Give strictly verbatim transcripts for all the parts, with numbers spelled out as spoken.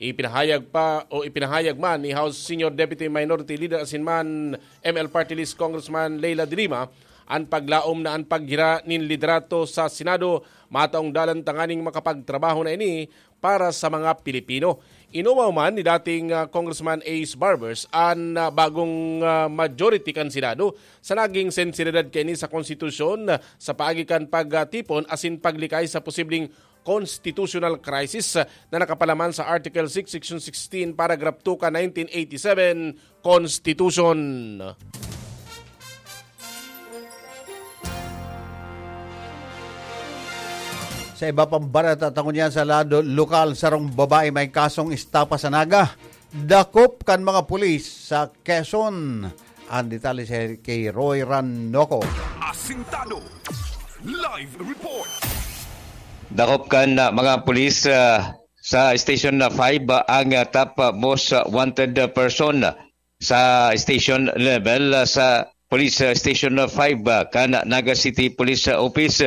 Ipinahayag pa o ipinahayag man ni House Senior Deputy Minority Leader asin man M L Party List Congressman Leila de Lima an paglaom na an paggira nin liderato sa Senado mataong dalan tanganing makapagtrabaho na ini para sa mga Pilipino. Inumaw man ni dating, ah, Congressman Ace Barbers an, ah, bagong, ah, majority kan Senado sa naging sensibilidad kaini sa konstitusyon, ah, sa paagi kan pagtipon asin paglikay sa posibleng constitutional crisis, ah, na nakapalaman sa Article six, Section sixteen, Paragraph two kan nineteen eighty-seven Constitution. Sa iba pang bareta, ta ngunyan sa lado lokal, sarong babae may kasong estafa sa Naga, dakop kan mga pulis sa Quezon. Ang detalye si kay Roy Ranoco. Asintado. Live report. Dakop kan, ah, mga pulis, ah, sa Station five, ah, ang, ah, top, ah, most, ah, wanted, ah, person sa station level, ah, sa Police, ah, Station five, ah, kan Naga City Police, ah, Office.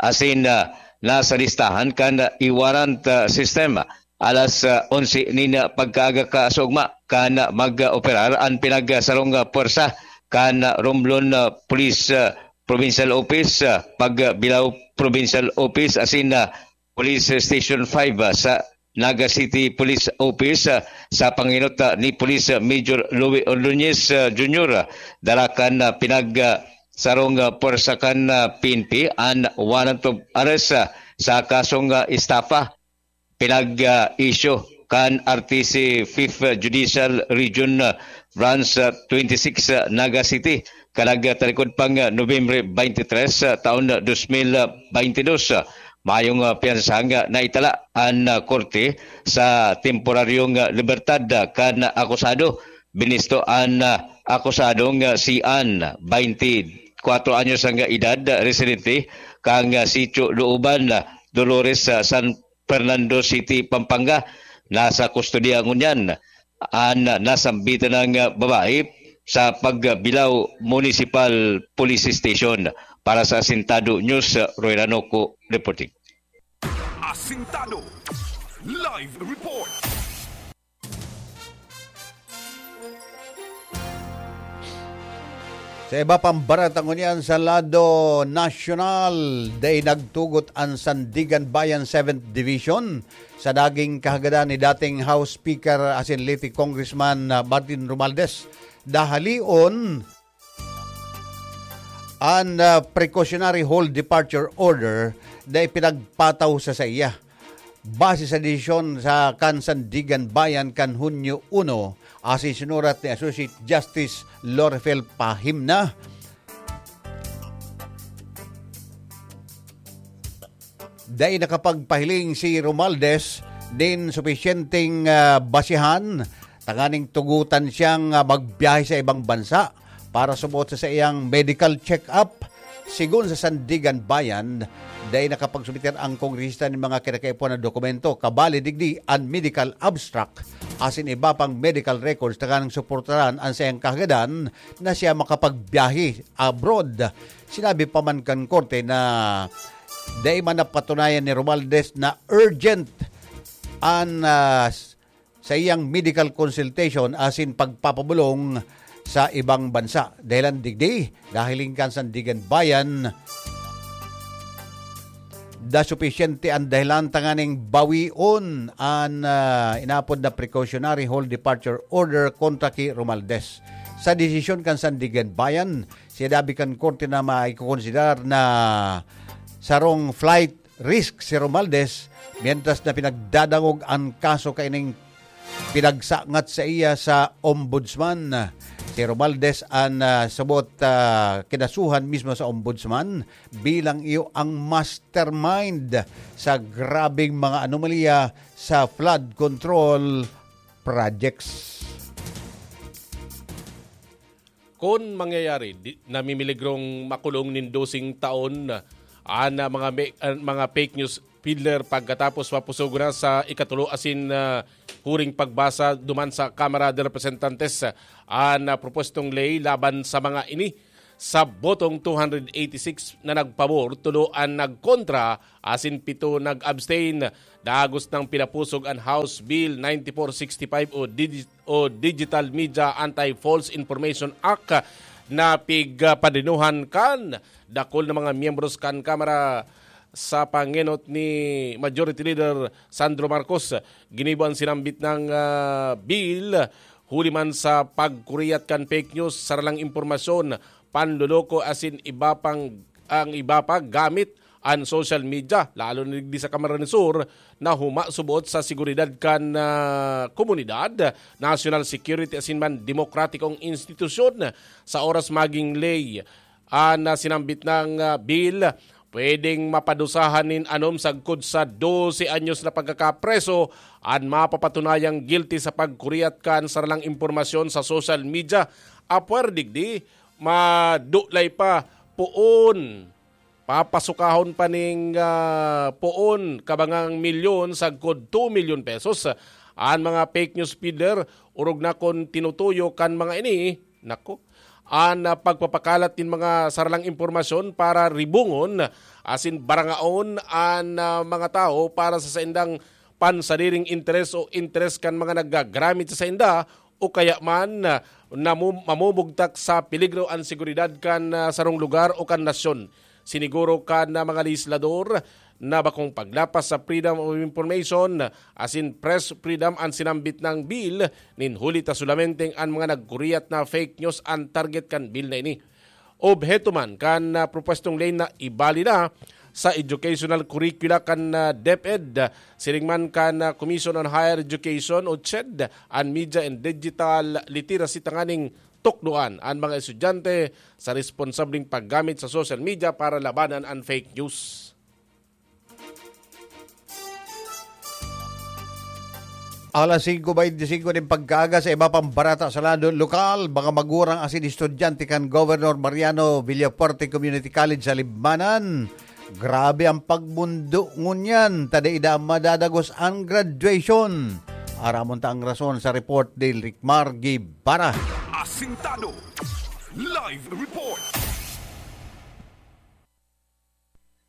Asin, ah, nasa listahan kan e-warrant, ah, system. Alas, ah, onse nin, ah, pagkaaga kasougma kan, ah, mag-operar an pinagsarong, ah, pwersa kan, ah, Romblon, ah, Police, ah, Provincial Office, ah, Pagbilao Provincial Office, asin, ah, Police Station five, ah, sa Naga City Police Office, ah, sa panginot, ah, ni Police, ah, Major Louie Ordonez, ah, Junior, ah, dara kan, ah, pinag, ah, sarong, ah, pwersa kan, ah, P N P an warrant of arrest, ah, sa kasong, ah, estafa. Pinag, ah, issue kan R T C Fifth Judicial Region, ah, Branch, ah, twenty-six, ah, Naga City, kan nagtalikod pang, ah, Nobyembre twenty-three, ah, taon, ah, dos mil baintidos. Ah, mayong, ah, piyansa nga naitala an, ah, korte sa temporaryong, ah, libertad, ah, kan akusado. Binisto an, ah, akusadong, ah, si Ann, twenty-four anyos ang edad, ah, residente kan, ah, Sitio Looban, ah, Dolores, sa San Fernando City, Pampanga. Nasa kustodiya ngunyan an nasambitan na babae sa Pagbilao Municipal Police Station. Para sa Asintado News, Roy Ranoco reporting. Asintado Live Report. Sa iba pang bareta ngunyan sa lado nasyonal, dai nagtugot an Sandiganbayan Seventh Division sa naging kahagadan ni dating House Speaker asin Leyte Congressman, ah, Martin Romualdez. Dahalion an, ah, precautionary hold departure order na ipinagpataw sa saiya. Base sa desisyon sa kan Sandiganbayan kan Hunyo uno, asin sinurat ni Associate Justice Lorifel Pahimna, dai nakapagpahiling si Romualdez nin supisyenteng, ah, basihan tanganing tugotan siyang, ah, magbiyahe sa ibang bansa para suboot sa saiyang medical check-up. Sigon sa Sandiganbayan, dai nakapagsumiter ang kongresista nin mga kinakaipuhan na dokumento, kabali digdi an medical abstract asin iba pang medical records tanganing suportaran an saiyang kahagadan na siya makapagbiyahe abroad. Sinabi pa man kan korte na dai man napatunayan ni Romualdez na urgent an, ah, s-, saiyang medical consultation asin pagpapabolong sa ibang bansa. Dahilan digdi, nahiling kan Sandiganbayan, da supisyente an dahilan tanganing bawion an, ah, inapod na precautionary hold departure order kontra ki Romualdez. Sa desisyon kan Sandiganbayan, sinabi kan korte na maikokonsiderar na sarong flight risk si Romualdez, mientras na pinagdadangog an kaso kaining pinagsangat saiya sa Ombudsman. Si Romualdez an, ah, subot, ah, kinasuhan mismo sa Ombudsman bilang iyo ang mastermind sa grabeng mga anomalya sa flood control projects. Kun mangyayari, di, namimiligrong makulong nin doseng taon an, ah, mga me-, an mga fake news peddler pagkatapos mapusogon na sa ikatulo asin, ah, huring pagbasa duman sa Kamara de Representantes, ah, an, ah, propwestong ley laban sa mga ini. Sa botong two hundred eighty-six na nagpabor, tulo an nagkontra, asin pito nag-abstain. Dagos nang pinapusog an House Bill ninety-four sixty-five o digi-, o Digital Media Anti-False Information Act na pigpadinuhan kan dakul na mga miyembros kan Kamara sa pangenot ni Majority Leader Sandro Marcos. Ginibo an sinambit na, ah, bill huli man sa pagkuriyat kan fake news, saralang impormasyon, panloloko asin iba pang, ang iba pa gamit an social media, lalo na digdi sa Camarines Sur, na humasubot sa seguridad kan, ah, komunidad, national security asin man demokratikong institusyon. Sa oras maging ley an, ah, sinambit na, ah, bill, pwedeng mapadusahan nin anom sagkod sa dose anyos na pagkakapreso an mapapatunayang guilty sa pagkuriyat kan saralang impormasyon sa social media. Apwera digdi, madulay pa, poon, papasukahon pa ning, ah, poon kabangang milyon sagkod two milyon pesos an mga fake news peddler, orog na kun tinutuyo kan mga ini, nako, an, ah, pagpapakalat nin mga saralang impormasyon para ribungon asin barangaon an, ah, mga tawo para sa saindang pansariring interes o interes kan mga naggagramit sa sainda, o kaya man, ah, namu-, mamumugtak sa peligro an seguridad kan, ah, sarong lugar o kan nasyon. Siniguro kan, ah, mga lehislador na bakong paglapas sa freedom of information asin press freedom an sinambit na bill, nin huli ta solamenteng an mga nagkuriyat na fake news an target kan bill na ini. Obheto man kan, ah, propwestong ley na ibali na sa educational curricula kan, ah, DepEd, siring man kan, ah, Commission on Higher Education o CHED, an media and digital literacy tanganing tukdoan an mga estudyante sa responsableng paggamit sa social media para labanan an fake news. Alas singko baynte singko nin pagkaaga. Sa iba pang barata sa lado lokal, mga magurang asin estudyante kan Governor Mariano Villafuerte Community College sa Libmanan. Grabe ang pagmundo ngunyan, ta dai da madadagos ang graduation. Aramon ta ang rason sa report ni Ricmar Guevara. Asintado. Live report.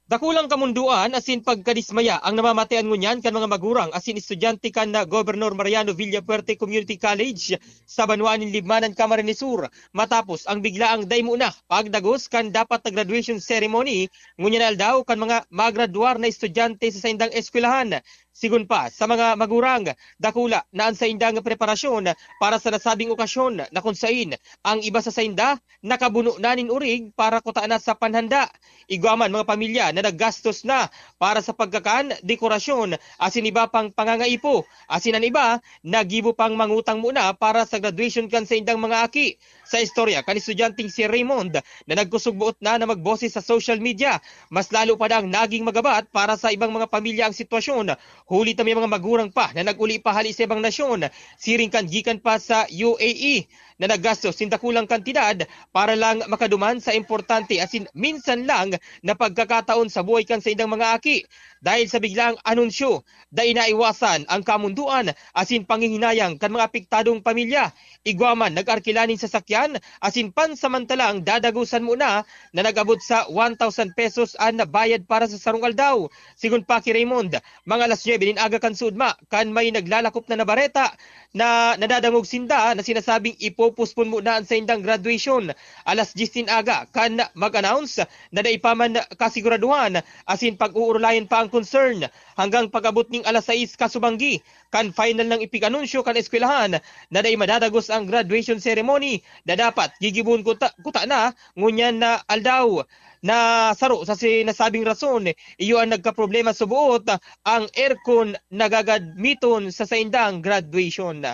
Dakulang kamundoan asin pagkadismaya ang namamatean ngunyan kan mga magurang asin estudyante kan, ah, Governor Mariano Villafuerte Community College sa banwaan nin Libmanan, Camarines Sur, matapos ang biglaang dai mo na pagdagos kan dapat na graduation ceremony ngunyan na aldaw kan mga magradwar na estudyante sa saindang eskwelahan. Sigon pa sa mga magurang, dakula na an saindang preparasyon para sa nasabing okasyon, na kun sain ang iba sa sainda nakabuno na nin orig para kutaan na sa panhanda. Igwa man mga pamilya na naggastos na para sa pagkakan, dekorasyon, asin iba pang pangangaipo, asin an iba naggibo pang mangutang muna para sa graduation kan saindang mga aki. Sa istorya kan estudyanteng si Raymond na nagkusog-boot na na magboses sa social media, mas lalo pa dang naging magabat para sa ibang mga pamilya ang sitwasyon, huli ta may mga magurang pa na nag-uli pa hali sa ibang nasyon, siring kan gikan pa sa U A E, na naggastos nin dakulang kantidad para lang makaduman sa importante asin minsan lang na pagkakataon sa buhay kan saindang mga aki. Dahil sa biglaang anunsyo, dai naiwasan ang kamundoan asin panghihinayang kan mga apektadong pamilya. Igwa man nag-arkila nin sasakyan asin pansamantalang dadagosan muna na nag-abot sa one thousand pesos an nabayad para sa sarong aldaw. Sigon pa ki Raymond, mga alas nuebe nin aga kan sudma, kan may naglalakop na na bareta na nadadangog sinda na sinasabing ipopospon muna an saindang graduation. Alas dyes nin aga kan mag-announce na dai pa man kasiguraduhan asin pag-uurulayan pa ang concern hanggang pag-abot ning alas sais kasubanggi, kan final nang ipig-anunsyo kan eskwelahan na dai madadagos ang graduation ceremony na dapat gigibohon kuta, kuta na ngunyan na aldaw. Na saro sa sinasabing rason, iyo ang nagkaproblema sa buot, ang aircon na gagadmiton sa saindang graduation.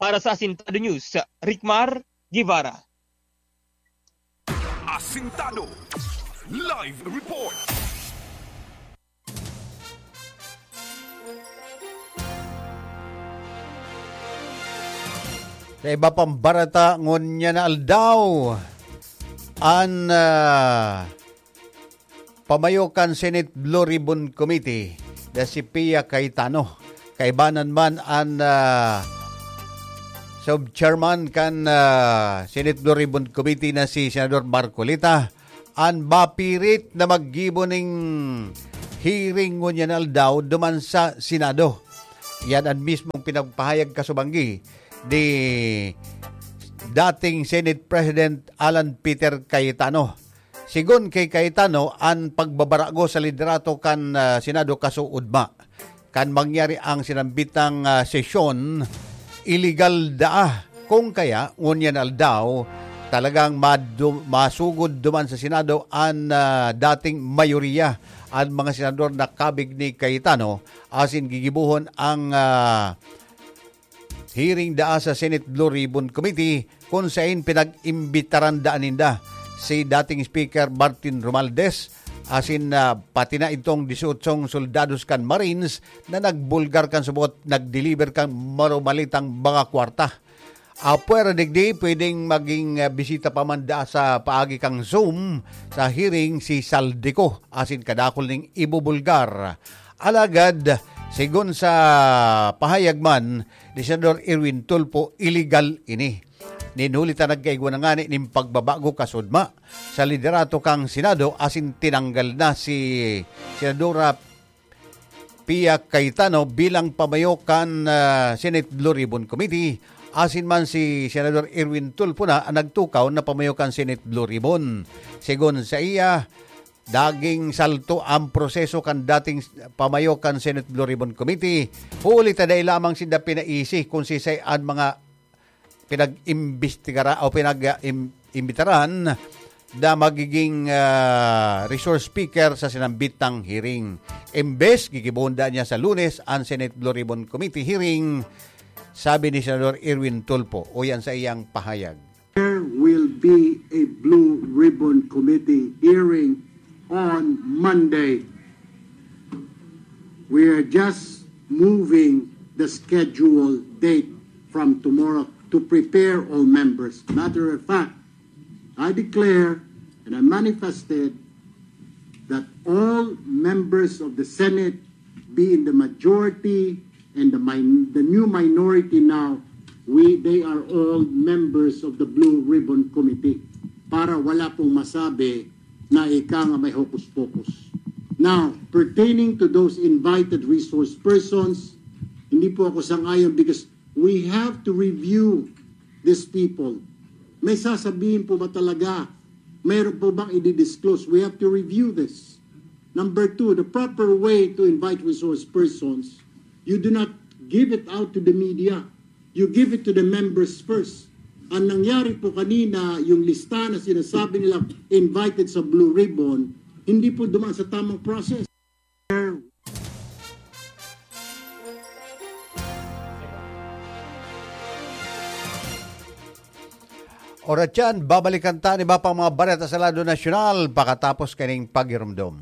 Para sa Asintado News, Ricmar Guevara. Asintado. Live report. Sa iba pang barata, ngunyan na aldaw, an, ah, pamayo kan Senate Blue Ribbon Committee na si Pia Cayetano. Kaibanan man an, ah, sub-chairman kan, ah, Senate Blue Ribbon Committee na si Senador Marcoleta, an mapirit na maggibo ning hearing ngunyan aldaw duman sa Senado. Yan an mismong pinagpahayag kasubanggi ni dating Senate President Alan Peter Cayetano. Sigon kay Cayetano, an pagbabarago sa liderato kan, ah, Senado kasuodma. Kan mangyari ang sinambitang, ah, sesyon, iligal daa. Kung kaya, ngunyan aldaw, talagang madu-, masugod duman sa Senado an, ah, dating mayoriya, an mga senador na kabig ni Cayetano, asin gigibohon ang, ah, hearing daa sa Senate Blue Ribbon Committee, kun sain pinag-imbitaran daa ninda si dating Speaker Martin Romualdez, asin, ah, pati na itong disyotsyong soldados kan Marines na nagbulgar kan subot, nag-deliver kan marumalitang mga kwarta. Apwera digdi, pwedeng maging, ah, bisita pa man daa sa paagi kan Zoom sa hearing si Zaldy Co asin kadakul ning ibubulgar. Alagad, sigon sa pahayag man ni Senador Erwin Tulfo, iligal ini. Nin huli ta nagkaigwa na ngani nin pagbabago kasuodma sa liderato kan Senado asin tinanggal na si Senadora Pia Cayetano bilang pamayo kan, ah, Senate Blue Ribbon Committee, asin man si Senador Erwin Tulfo na an nagtukaw na pamayo kan Senate Blue Ribbon. Sigon saiya, naging salto an proseso kan dating pamayo kan Senate Blue Ribbon Committee, huli ta dai lamang sinda pinaisi kun sisay an mga pinag-imbestigara o pinag-, im-, imbitaran na magiging, ah, resource speaker sa sinambitang hearing. Imbes, gigibohon daa niya sa Lunes an Senate Blue Ribbon Committee hearing, sabi ni Senador Erwin Tulfo. Uyan sa iyang pahayag. There will be a Blue Ribbon Committee hearing on Monday. We are just moving the scheduled date from tomorrow to prepare all members. Matter of fact, I declare and I manifested that all members of the Senate, be in the majority and the min-, the new minority now, we, they are all members of the Blue Ribbon Committee. Para wala pong masabi na ika nga may hocus-pocus. Now, pertaining to those invited resource persons, hindi po ako sang-ayon because we have to review these people. May sasabihin po ba talaga? Mayroon po bang i-disclose? We have to review this. Number two, the proper way to invite resource persons, you do not give it out to the media. You give it to the members first. Ang nangyari po kanina, yung lista na sinasabi nila invited sa Blue Ribbon, hindi po dumaan sa tamang process. Oras yan, babalikan ta an iba pang mga bareta sa lado nasyonal pakatapos kaning pagirumdom.